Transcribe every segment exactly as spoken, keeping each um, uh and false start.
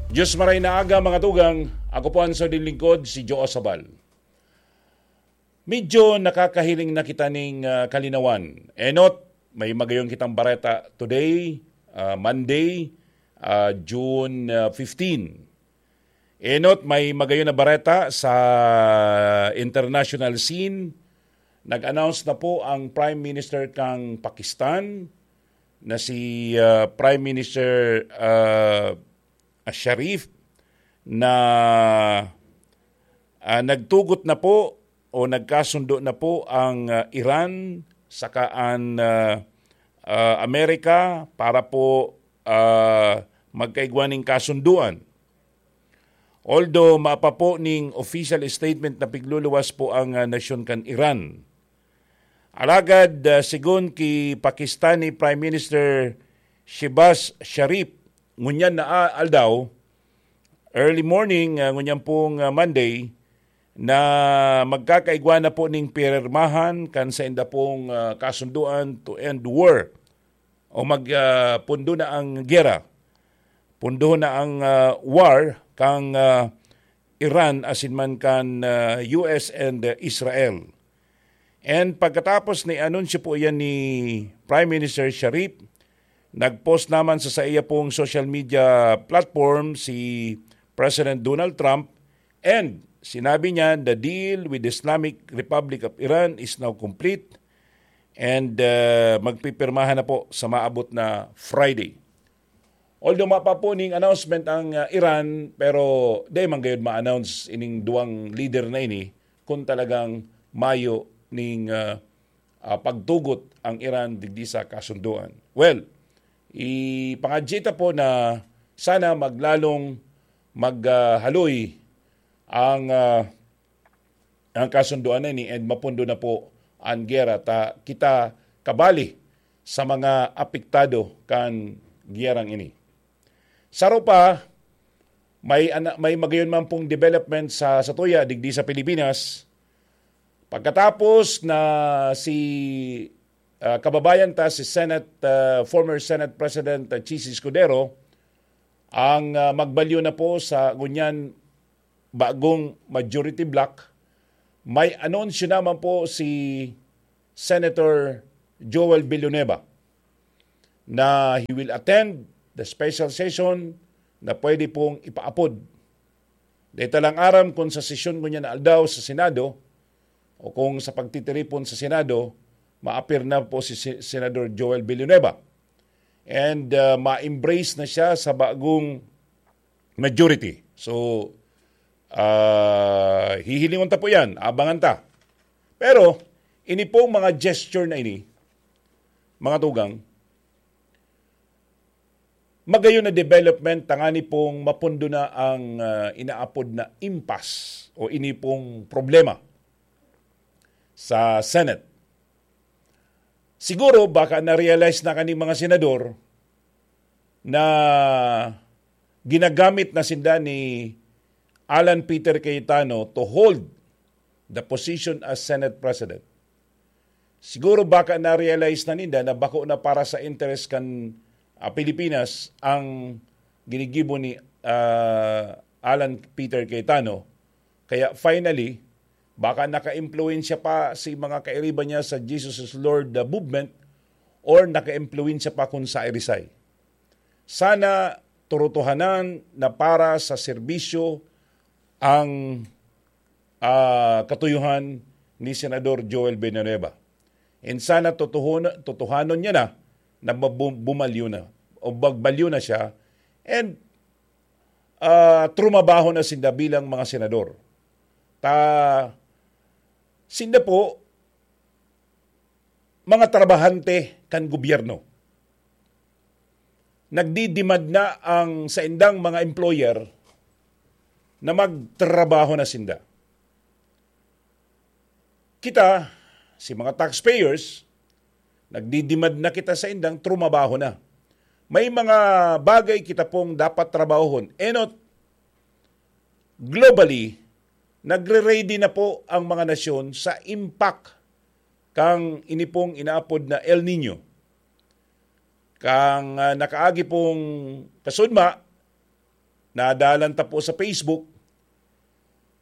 Diyos maray na aga, mga tugang. Ako po ang sardin lingkod, si Joe Sabal. Medyo nakakahiling na kita ning, ah, kalinawan. Enot, may magayon kitang bareta today, ah, Monday, ah, June, ah, fifteen. Enot, may magayon na bareta sa international scene. Nag-announce na po ang Prime Minister kang Pakistan na si, ah, Prime Minister, ah, Sharif na, ah, nagtugot na po o nagkasundo na po ang, ah, Iran saka an, ah, ah, Amerika para po, ah, magkaigwa ning kasunduan. Although mapa po ning official statement na pigluluwas po ang, ah, nasyon kan Iran. Alagad, ah, sigon ki Pakistani Prime Minister Shehbaz Sharif, ngunyan na, ah, aldaw, early morning, ah, ngunyan pong, ah, Monday, na magkakaigwa na po ning pirmahan kan sainda pong, ah, kasunduan to end war o mag, ah, pundo na ang gera. Pundo na ang, ah, war kang, ah, Iran asin man kan, ah, U S and, ah, Israel. And pagkatapos ni anunsyo po iyan ni Prime Minister Sharif, nag-post naman sa saiya pong social media platform si President Donald Trump, and sinabi niya, "The deal with the Islamic Republic of Iran is now complete," and, ah, magpipirmahan na po sa maabot na Friday. Although mapa po ning announcement ang, ah, Iran, pero di man gayud ma-announce ining duwang leader na ini kung talagang mayo ning, ah, ah, pagtugot ang Iran digdi sa kasunduan. Well, ipangadyi ta po na sana maglalong maghaloy ang, ah, ang kasunduan na ini and mapundo na po an gera ta kita kabali sa mga apektado kan gerang ini. Saro pa, may ana-, may magayon man pong development sa, sa tuya digdi sa Pilipinas. Pagkatapos na si, ah, kababayan ta, si Senate, ah, former Senate President, ah, Chiz Escudero, ang, ah, magbalyo na po sa ngunyan bagong majority bloc, may anunsyo naman po si Senator Joel Villanueva na he will attend the special session na pwede pong ipaapod. Dahil talang aram kung sa sesyon ngunyan na aldaw sa Senado o kung sa pagtitiripon sa Senado, maapir na po si Se-, Senador Joel Villanueva. And, uh, ma-embrace na siya sa bagong majority. So, ah, hihilingon ta po yan, abangan ta. Pero, ini pong mga gesture na ini, mga tugang, magayon na development, tangani pong mapundo na ang, ah, inaapod na impasse o ini pong problema sa Senate. Siguro, baka na-realize na kaning mga senador na ginagamit na sinda ni Alan Peter Cayetano to hold the position as Senate President. Siguro baka na-realize na ninda na bako na para sa interes kan, ah, Pilipinas ang ginigibo ni, ah, Alan Peter Cayetano. Kaya finally, baka naka-impluwensya pa si mga kairiba niya sa Jesus is Lord, the movement, or naka-impluwensya pa kun sa irisay. Sana turutuhanan na para sa serbisyo ang, ah, katuyuhan ni Senador Joel Villanueva. And sana tutuhon-, tutuhanon niya na na mabu-, bumalyo na o magbalyo na siya. And, ah, trumabaho na sinda bilang mga senador. Ta, sinda po, mga trabahante kan gobyerno. Nagdidemand na ang saindang mga employer na magtrabaho na sinda. Kita, si mga taxpayers, nagdidemand na kita saindang trumabaho na. May mga bagay kita pong dapat trabahon. Enot, globally, nagre-ready na po ang mga nasyon sa impact kang ini pong inaapod na El Nino. Kang, ah, nakaagi pong kasudma, Nadalan ta po sa Facebook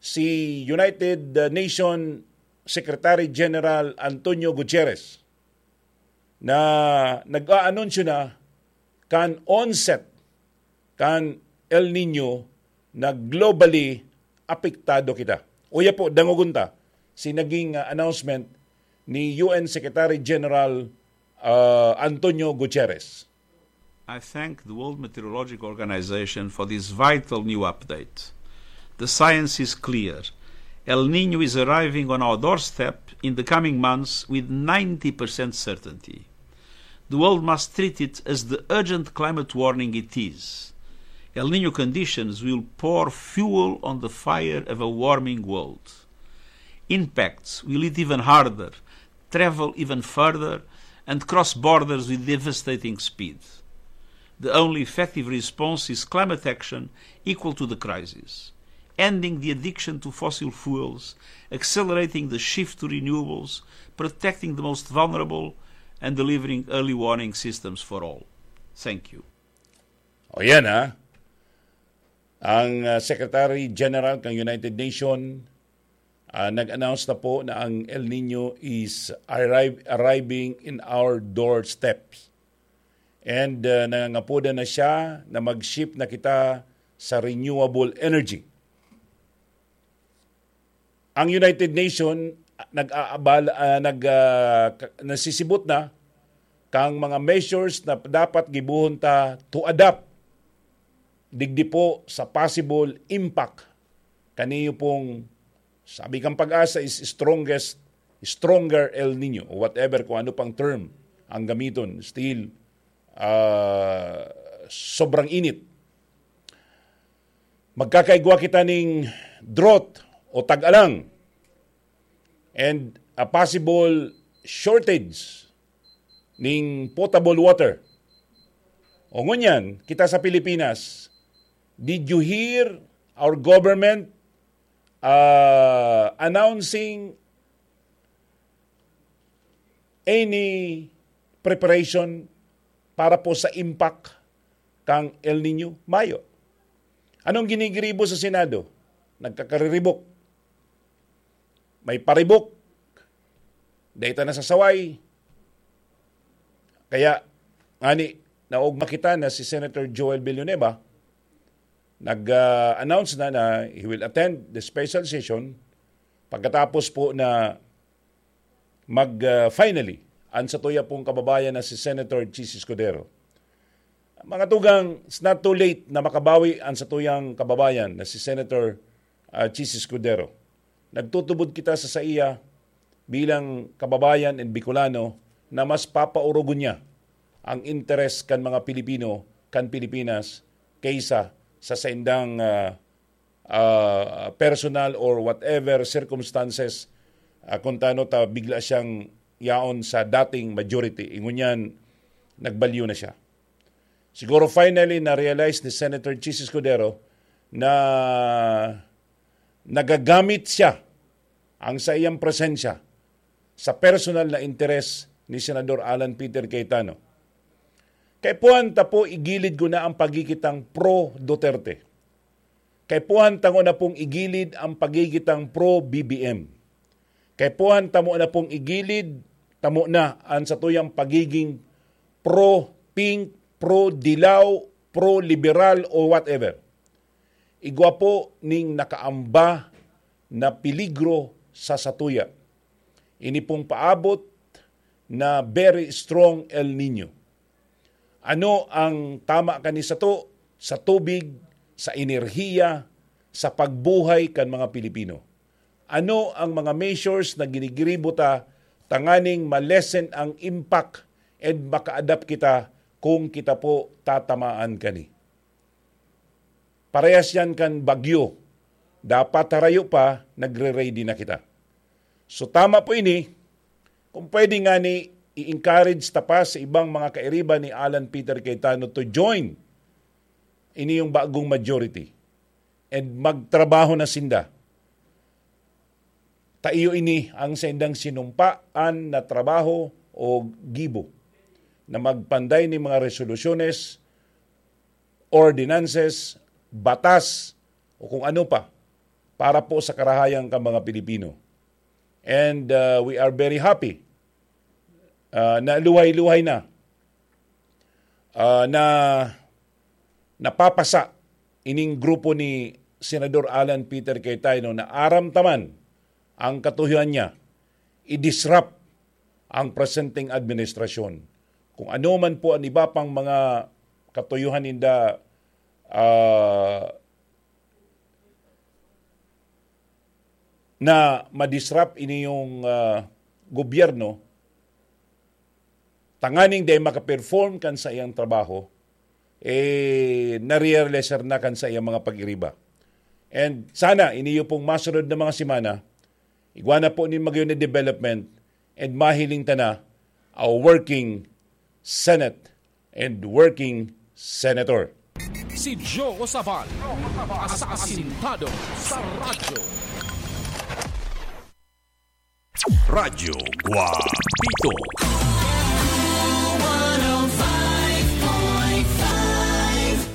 si United Nation Secretary General Antonio Gutierrez na nag-aanunsyo na kan onset kan El Nino na globally apektado kita. Uya po, dangogon ta si naging, ah, announcement ni U N Secretary General, ah, Antonio Gutierrez. I thank the World Meteorological Organization for this vital new update. The science is clear. El Nino is arriving on our doorstep in the coming months with ninety percent certainty. The world must treat it as the urgent climate warning it is. El Nino conditions will pour fuel on the fire of a warming world. Impacts will hit even harder, travel even further, and cross borders with devastating speed. The only effective response is climate action equal to the crisis, ending the addiction to fossil fuels, accelerating the shift to renewables, protecting the most vulnerable, and delivering early warning systems for all. Thank you. O yan ha, ang, ah, Secretary General ng United Nations, ah, nag-announce na po na ang El Nino is arrive, arriving in our doorsteps. And, ah, nangangapodan na siya na mag-shift na kita sa renewable energy. Ang United Nations nag-aabala, ah, nag, ah, ka- nasisibot na kang mga measures na dapat gibohon ta to adapt digdi po sa possible impact kaniyo pong, sabi kang pag-asa, is strongest, stronger El Nino o whatever, kung ano pang term ang gamiton, still, ah, sobrang init. Magkakaigwa kita ning drought o tag-alang and a possible shortage ning potable water. O ngunyan, kita sa Pilipinas, did you hear our government, ah, announcing any preparation para po sa impact kang El Nino? Mayo. Anong ginigiribo sa Senado? Nagkakariribok. May paribok. Dahil na sa saway. Kaya, ngani, naugma kita na si Senator Joel Villanueva nag-announce na na he will attend the special session pagkatapos po na mag, ah, finally ang satuya pong kababayan na si Senator Chiz Escudero. Mga tugang, it's not too late na makabawi ang satuyang kababayan na si Senator, ah, Chiz Escudero. Nagtutubod kita sa saiya bilang kababayan and Bicolano na mas papaurogon niya ang interes kan mga Pilipino, kan Pilipinas, kaysa sa saindang, ah, ah, personal or whatever circumstances, ah, kung tano ta bigla siyang yaon sa dating majority. Ingunyan, nagbalyo na siya. Siguro finally na-realize ni Senator Chiz Escudero na nagagamit siya ang sa iyang presensya sa personal na interes ni Senador Alan Peter Cayetano. Kaipuhan ta po igilid ko na ang pagigitang pro-Duterte. Kaipuhan ta na pong igilid ang pagigitang pro-B B M. Kaipuhan tamo na pong igilid, tamo na ang satuyang pagiging pro-pink, pro-dilaw, pro-liberal o whatever. Igwa po ning nakaamba na peligro sa satuya. Ini pong paabot na very strong El Nino. Ano ang tama kani sato sa tubig, sa enerhiya, sa pagbuhay kan mga Pilipino? Ano ang mga measures na ginigiribo ta tanganing ma-lessen ang impact and maka-adapt kita kung kita po tatamaan kani? Parehas yan kan bagyo. Dapat harayo pa, nagre-ready na kita. So tama po ini, kung pwede nga ni i-encourage ta pa sa ibang mga kairiba ni Alan Peter Cayetano to join ini yung bagong majority and magtrabaho na sinda. Ta iyo ini ang saindang sinumpaan na trabaho o gibo na magpanday ni mga resolusyones, ordinances, batas o kung ano pa para po sa karahayan kan mga Pilipino. And, uh, we are very happy, uh, na luhay-luhay na, uh, na napapasa ining grupo ni Senador Alan Peter Cayetano na aram ta man ang katuyohan niya, i-disrupt ang presenteng administrasyon. Kung ano man po ang iba pang mga katuyohan ninda, ah, na ma-disrupt ini yung, ah, gobyerno, tanganing dai makaperform kan saiyang trabaho, eh, narealize na kan saiyang mga pag-iriba. And sana, iniyo pong masunod na mga semana, igwa na po nin magayon na development and mahiling ta na a working Senate and working Senator. Si Joe Sabal, asasintado sa radyo. Radyo Guapito.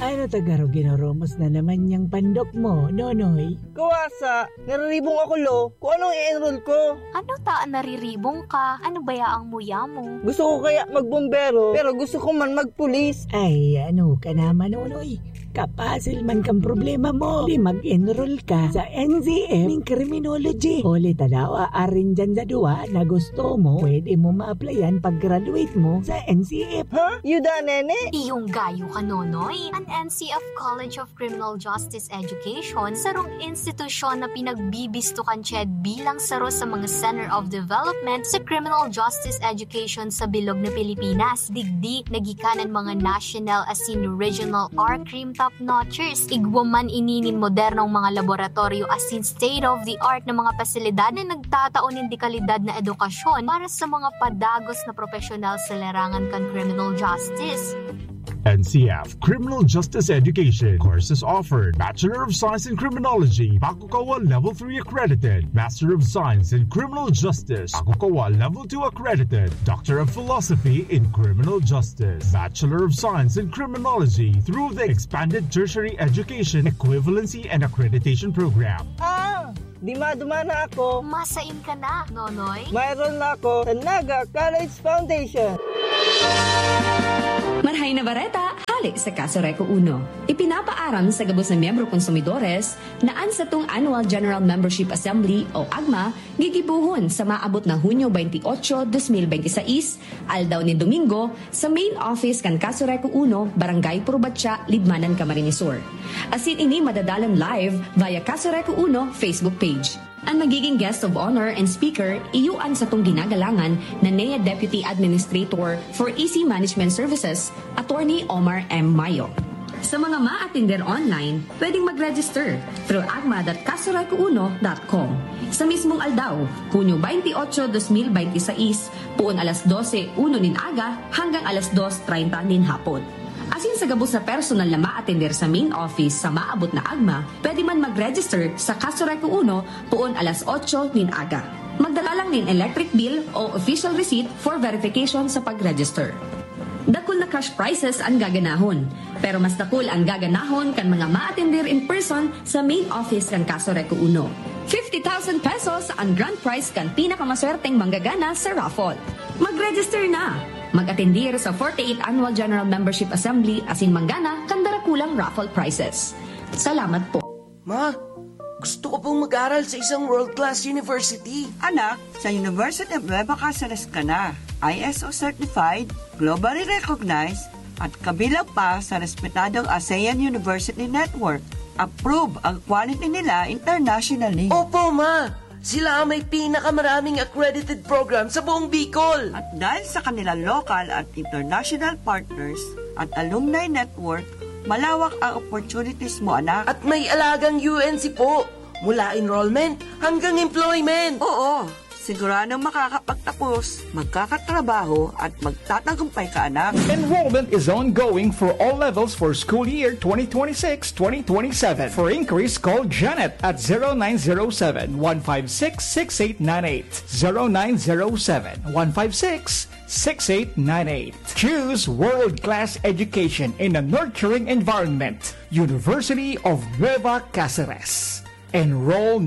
Ano ta garo ginoromos na naman niyang pandok mo, Nonoy? Kawasa, nariribong ako, lo. Kung anong i-enroll ko. Ano ta an nariribong ka? Ano baya ang muya mo? Gusto ko kaya magbombero, pero gusto ko man magpulis. Ay, ano ka naman, Nonoy? Kapasil man kang problema mo. Di mag-enroll ka sa N C F ning criminology. Huli ta daw, aarin dyan sa duwa na gusto mo, pwede mo ma-applyan pag-graduate mo sa N C F. Ha? Yuda, nene? Iyong gayo ka, Nonoy. An N C F College of Criminal Justice Education, sarong institusyon na pinagbibisto kan CHED bilang saro sa mga Center of Development sa Criminal Justice Education sa bilog na Pilipinas. Digdi, nagikan an mga national asin regional R-Crim top-notchers. Igwa man ini nin modernong mga laboratoryo asin state-of-the-art na mga pasilidad na nagtatao nin dekalidad na edukasyon para sa mga padagos na propesyonal sa larangan kan criminal justice. N C F Criminal Justice Education. Courses offered: Bachelor of Science in Criminology, Bakukawa Level three accredited; Master of Science in Criminal Justice, Bakukawa Level two accredited; Doctor of Philosophy in Criminal Justice, Bachelor of Science in Criminology through the Expanded Tertiary Education Equivalency and Accreditation Program. Ah! Dima-duma na ako. Masain ka na, Nonoy? Mayroon na ako sa Naga College Foundation. Marhay na bareta, hale sa Kaso Reco Uno. Ipinapaaram sa gabos na miyembro konsumidores na an satong Annual General Membership Assembly o agma gigibohon sa maabot na Hunyo twenty-eight, twenty twenty-six, aldaw nin Domingo, sa main office kan Kaso Reco Uno, Barangay Purubatya, Libmanan, Camarines Sur. Asin ini madadalan live via Kaso Reco Uno Facebook page. An magiging guest of honor and speaker, iyo an satong ginagalangan na N E A Deputy Administrator for E C Management Services, Attorney Omar M. Mayo. Sa mga maatender online, pwedeng mag-register through agma dot kasoreco uno dot com. Sa mismong aldaw, Hunyo twenty-eight, twenty twenty-six, poon alas dose uno nin aga hanggang alas dos treinta nin hapon. Asin sa gabos na personal na maatender sa main office sa maabot na agma, pwede man mag-register sa Kaso Reco Uno poon alas otso nin aga. Magdala lang nin electric bill o official receipt for verification sa pag-register. Dakul na cash prizes an gaganahon, pero mas dakul an gaganahon kan mga maatender in person sa main office kan Kaso Reco Uno. Fifty thousand pesos an grand prize kan pinakamaswerteng manggagana sa raffle. Mag-register na! Mag-atendir sa forty-eighth Annual General Membership Assembly asin manggana kan darakulang raffle prizes. Salamat po. Ma, gusto ko pong mag-aral sa isang world-class university. Anak, sa University of Nueva Caceres ka na. I S O certified, globally recognized, at kabilang pa sa respetadong ASEAN University Network. Approve ang quality nila internationally. Opo, ma! Sila ang may pinakamaraming accredited program sa buong Bicol. At dahil sa kanilang local at international partners at alumni network, malawak ang opportunities mo, anak. At may alagang U N C po, mula enrollment hanggang employment. Oo, Siguradong makakapagtapos, magkakatrabaho at magtatagumpay ka, anak. Enrollment is ongoing for all levels for school year twenty twenty-six, twenty twenty-seven. For inquiries, call Janet at zero nine zero seven, one five six, six eight nine eight. zero nine zero seven, one five six, six eight nine eight. Choose world-class education in a nurturing environment. University of Nueva Caceres. Enroll